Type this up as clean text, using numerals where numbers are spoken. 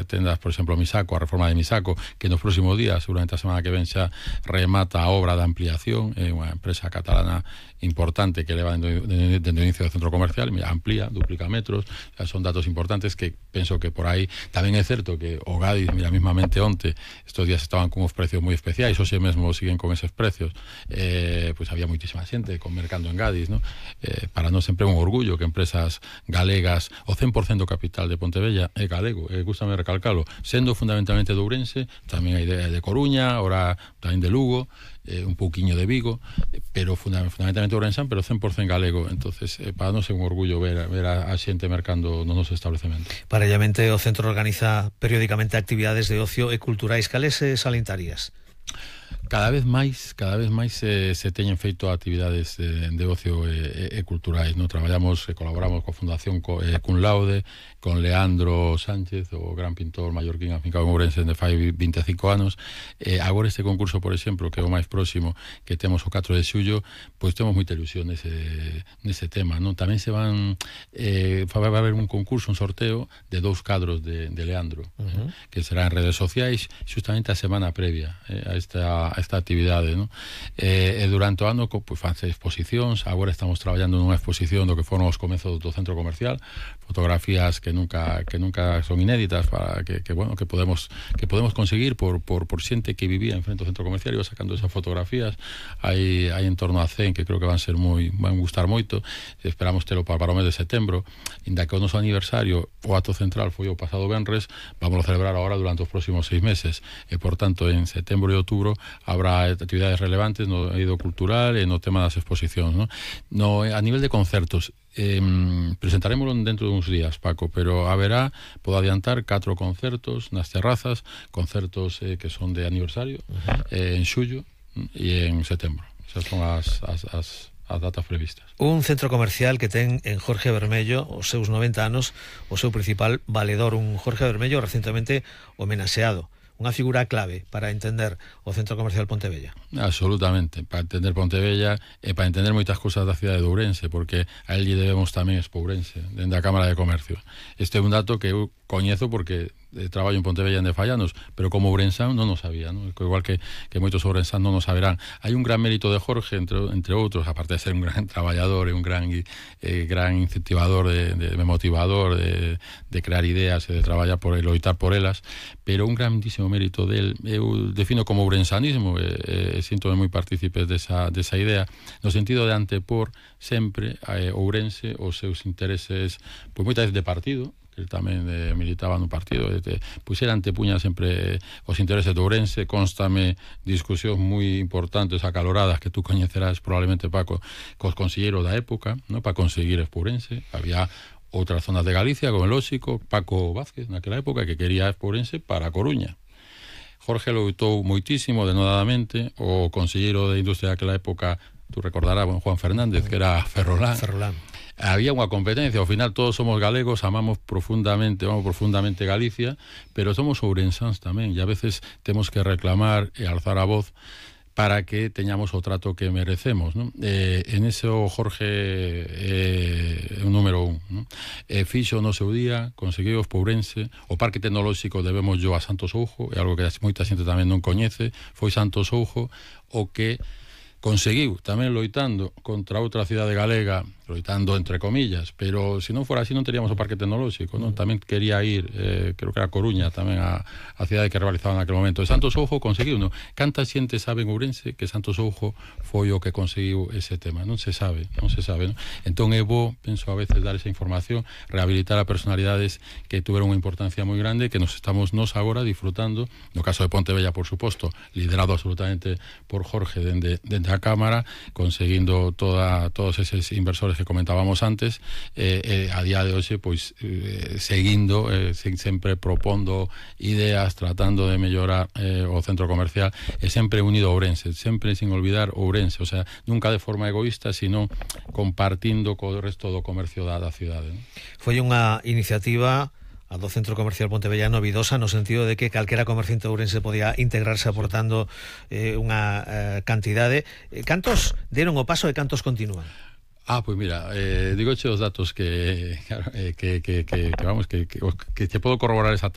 tendas, por exemplo, Misaco, a reforma de Misaco, que nos próximos días, seguramente a semana que ven xa, remata a obra de ampliación, unha empresa catalana importante que leva dende o inicio do centro comercial, amplía, duplica metros, son datos importantes que penso que por aí tamén é certo que o Gadis, mira, mismamente onte, estos días estaban con uns precios moi especiais, hoxe mesmo siguen con eses precios, pois había moitísima xente mercando en Gadis, ¿no? Para nós sempre é un orgullo que empresas galegas, o 100% do capital de Pontevella é galego, gústame recalcalo, sendo fundamentalmente de Ourense, tamén hai de Coruña, ahora tamén de Lugo, un pouquiño de Vigo, pero fundamentalmente Ourensán, pero 100% galego. Entonces, para nós é un orgullo ver a xente mercando no noso establecemento. Parallelamente, o centro organiza periódicamente actividades de ocio e culturais. Cales salientarías? Cada vez máis se teñen feito actividades de ocio e culturais, ¿no? Traballamos e colaboramos coa Fundación Cun Laude, con Leandro Sánchez, o gran pintor mallorquín afincado en Ourense de fai 25 anos. Agora este concurso, por exemplo, que é o máis próximo, que temos o 4 de xullo, pois temos moita ilusión nese tema, ¿no? Tamén se van vai haber un concurso, un sorteo de 2 cadros de Leandro, que será en redes sociais justamente a semana previa a esta actividade, ¿no? E durante o ano pois fanse exposicións. Agora estamos traballando nunha exposición do que foron os comezos do centro comercial, fotografías que nunca son inéditas, para que podemos conseguir por xente que vivía en frente ao centro comercial e iba sacando esas fotografías. Hai en torno a 100 que creo que van gustar moito. Esperamos telo para o mes de setembro, inda que o noso aniversario, o acto central foi o pasado venres, vamos a celebrar agora durante os próximos 6 meses, e por tanto en setembro e outubro habrá actividades relevantes no eido cultural e no tema das exposicións, ¿no? A nivel de concertos, presentaremoslo dentro de uns días, Paco, pero haberá, podo adiantar, 4 concertos nas terrazas, concertos que son de aniversario, en xullo e en setembro. Esas son as datas previstas. Un centro comercial que ten en Jorge Bermello os seus 90 anos, o seu principal valedor, un Jorge Bermello recentemente homenaxeado. Unha figura clave para entender o Centro Comercial Pontevella. Absolutamente, para entender Pontevella e para entender moitas cousas da cidade de Ourense, porque a él lle debemos tamén Expo Ourense, dende a Cámara de Comercio. Este é un dato que eu coñezo porque traballo en Pontevella de fai anos, pero como ourensán non o sabía, ¿no? Igual que moitos ourensán non o saberán. Hai un gran mérito de Jorge, entre outros, aparte de ser un gran traballador e un gran incentivador, de motivador, de crear ideas e de traballar por loitar por elas, pero un grandísimo mérito del, eu defino como ourensanismo, e síntome moi partícipes desa idea, no sentido de antepor sempre a Ourense os seus intereses, pois moitas veces de partido, que tamén militaba no partido, pois era antepuña sempre os intereses de Ourense. Constame discusións moi importantes, acaloradas, que tú coñecerás probablemente, Paco, cos conselleiros da época, ¿no? Para conseguir Expo Ourense. Había outras zonas de Galicia, como el lóxico, Paco Vázquez, naquela época, que quería Expo Ourense para a Coruña. Jorge loitou moitísimo, denodadamente. O conselleiro de Industria daquela época, tú recordarás, Juan Fernández, que era Ferrolán. Había unha competencia, ao final todos somos galegos, amamos profundamente Galicia, pero somos ourensáns tamén, e a veces temos que reclamar e alzar a voz para que teñamos o trato que merecemos, ¿no? En eso Jorge é un número 1, ¿no? Fixo no seu día, conseguiu Expo Ourense. O Parque Tecnolóxico debemos yo a Santos Oujo, é algo que moita xente tamén non coñece. Foi Santos Oujo o que conseguiu, tamén loitando contra outra cidade galega, loitando entre comillas, pero se non fora así non teríamos o Parque Tecnolóxico, non? Tamén quería ir, creo que era Coruña tamén, a cidade que rivalizaba naquele momento. E Santos Oujo conseguiu, non? Canta xente sabe en Ourense que Santos Oujo foi o que conseguiu ese tema? Non se sabe, non? Entón é bo, penso a veces, dar esa información, rehabilitar a personalidades que tuveron unha importancia moi grande, que nos estamos agora disfrutando, no caso de Pontevella, por suposto, liderado absolutamente por Jorge dende a Cámara, conseguindo todos eses inversores que comentábamos antes, a día de hoxe, pois, seguindo, sempre propondo ideas, tratando de mellorar o centro comercial, e sempre unido a Ourense, sempre sin olvidar Ourense, o sea, nunca de forma egoísta, sino compartindo co resto do comercio da cidade, ¿no? Foi unha iniciativa a do Centro Comercial Pontevella novidosa, no sentido de que calquera comerciante ourense podía integrarse aportando unha cantidade. Cantos deron o paso e cantos continúan? Pois mira, digoche os datos que te podo corroborar exactamente.